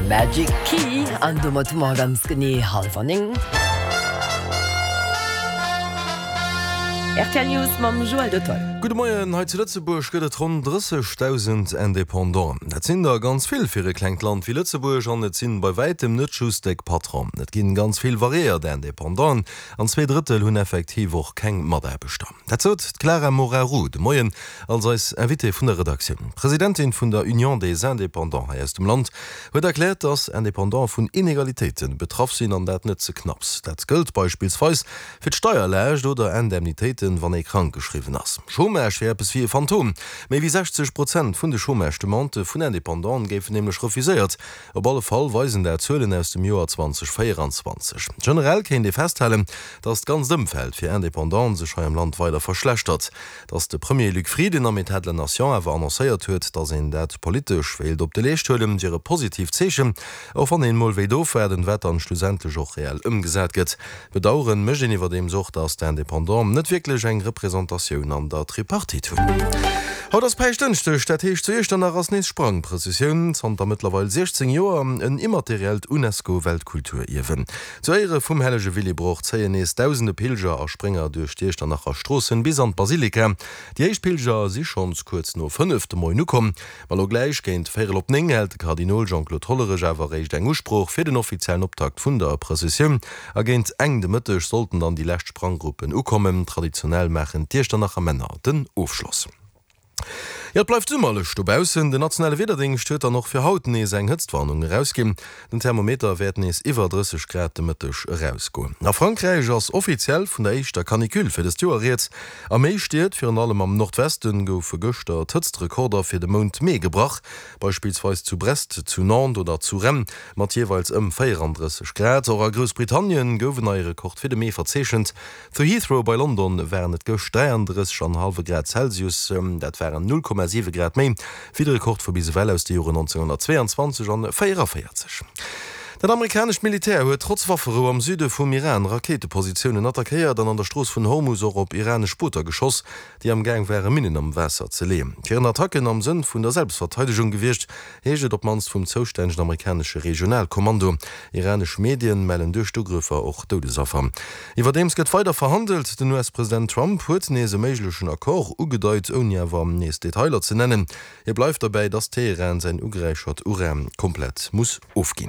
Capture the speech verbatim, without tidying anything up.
Magic Key an domat hu mer ganz genee hallwer néng. Rtl News mam Joël Dottoll. Gudde Moien, hei zu Lëtzebuerg gëtt et ronn drëssegdausend Independanten. Dat sinn der ganz vill fir e klengt Land wéi Lëtzebuerg an et sinn bei wäitem net just déck Patronen. Et ginn ganz vill variéiert Independanten an zwee Drëttel hunn effektiv och keng Mataarbechter. Dat sot d'Clara Moraru de Moien als eis Invitée vun der Redaktioun. D'Presidentin vun der Union des Indépendants hei aus dem Land huet erkläert, dass Indépendante vun Inegalitéite betraff sinn an dat net ze knapps. Dat gëllt beispillsweis fir d'Steierlaascht oder Indemnitéiten, wann ee krank geschriwwen ass. Chômage wier eppes wéi e Phantom. Méi wéi sechzeg Prozent vun de Chômage-Demandë vun Independanten géifen nämlech refuséiert. Op alle Fall weisen dat Zuelen aus dem Joer zweitausendvéieranzwanzeg. Generell kéint ee festhalen, datt d'ganzt Ëmfeld fir Independanten sech hei am Land weider verschlechtert. Datt de Premier Luc Frieden am Etat de la Nation awer annoncéiert huet, datt een dat politesch wéilt op de Leescht huelen, wier e positiivt Zeechen, och wann een mol wéilt ofwaarden, wat dann schlussendlech och reell ëmgesat gëtt. Bedaueren mécht een iwwerdeems och, datt d'Indépendants net wierklech eng Representatioun an der Tripartite hunn. Haut ass Päischtdënschdeg, dat heescht zu Iechternach ass nees Sprangprëssessioun, zanter mëttlerweil siechzéng Joer en immateriellt Unesco-Weltkulturierwen. Zu Éiere vum hellege Willibrord zéien nees dausende Pilger a Sprénger duerch d'Iechternacher Stroossen bis an d'Basilika. Déi éischt Pilger si schonns kuerz no fënnef de Moien ukomm. Ma lo gläich géint véierel op néng hält de Kardinol Jean-Claude Hollerech awer eréischt eng Usprooch fir den offiziellen Optakt vun der Prëssessioun. A géint eng de Mëtteg sollten dann déi lescht Spranggruppen ukommen. Traditionell maachen d'Iechternacher Männer den Ofschloss. Jo, et bleift summerlech dobaussen. Den nationale Wiederdéngscht huet dann och fir haut nees eng Hëtztwarnung erausginn. Den Thermometer wäert nees iwwer drësseg Grad de Mëtteg erausgoen. A Frankräich ass offiziell vun der éischter Canicule fir dëst Joer rieds. A méi Stied, virun allem am Nordwesten, goufe gëschter d'Hëtztrekorder fir de Mount Mee gebrach. Beispillsweis zu Brest, zu Nantes oder zu Rennes mat jeeweils ëm véierandrësseg Grad. Och a Groussbritannien gouf en neie Rekord fir de Mee verzeechent. Zu Heathrow bei London waren et gëscht dräiandrësseg an hallwe Grad Celsius, dat waren null Komma siwe Grad méi wéi de Rekord vu bis ewell aus de Joren nonzénghonnertzweeanzwanzeg an véierevéierzeg. Dat amerikanescht Militär huet trotz Wafferou am Süde vum Iran Rakéitepositiounen attackéiert an an der Strooss vun Hormus och op iranesch Booter geschoss, déi am Gaang ware Minnen am Waasser ze leeën. Et wieren Attacken am Sënn vun der Selbstverteidegung gewiescht, heescht et op d'mannst vum zoustännegen amerikanesche Regionalkommando. Iranesch Medien mellen duerch d'Ugrëffer och Doudesaffer. Iwwerdeems gëtt weider verhandelt. Den U S-President Trump huet nees e méiglechen Accord ugedeit, ouni awer nees Detailer ze nennen. Hie bleift derbäi, datt Teheran säin ugeräichert Uran komplett muss ofginn.